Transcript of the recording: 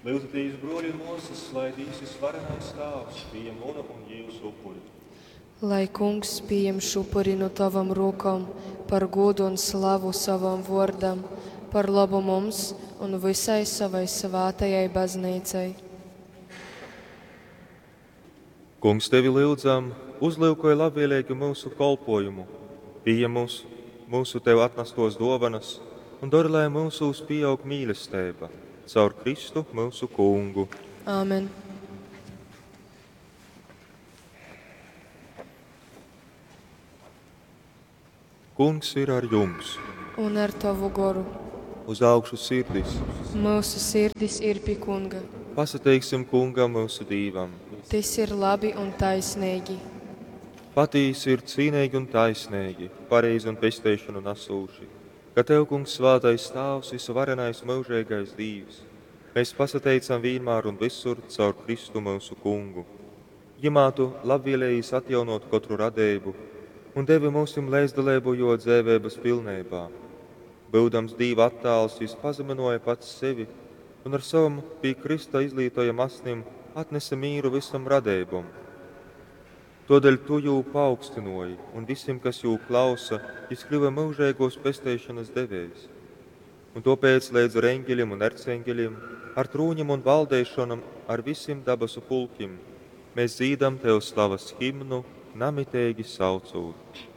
Lyudzatīs, bruoļi un muosys, lai Dīvs Vysvarenais Tāvs pījem munu un jiusu upuri. Lai Kungs pījem šupuri nu tovom rūkom par gūdu un slavu sovam vuordam, par lobu mums un vysai sovai svātajai Bazneicai. Kungs, tevi lyudzam, uzlyukoj labvieleigi myusu kolpuojumu, pījem mūs, myusu tev atnastuos duovanys un dori, lai myusūs pīaug mīlesteiba. Caur Kristu myusu Kungu. Āmen. Kungs ir ar jums! Un ar tovu goru. Uz augšu sirdis! Myusu sirdis ir pi Kunga. Pasateiksim Kungam, myusu Dīvam! Tys ir labi un taisneigi. Patīsi ir cīneigi un taisneigi, pareizi un pesteišonu nasūši, ka Tev, Kungs, svātais Tāvs, vysuvarenais myužeigais Dīvs, mēs pasateicam vīnmār un vysur caur Kristu myusu Kungu. Jymā Tu labvielējīs atjaunōt kotru radeibu un devi myusim leidzdaleibu Jō dzeiveibas pilneibā. Byudams Dīva attāls, Jys pazamynōja pats sevi un ar sovom pi krysta izlītojam asnim atnese mīru vysom radeibom. Tōdēļ Tu Jū paaugstynōji, un vysim, kas Jū klausa, Jys kļyva myužeigōs pesteišonas devējs. Un tōpēc leidz ar eņgelim un erceņgelim, ar trūņim un valdeišonom, ar vysim dabasu pulkim, mēs dzīdam Tev slavas himnu, namiteigi saucūt.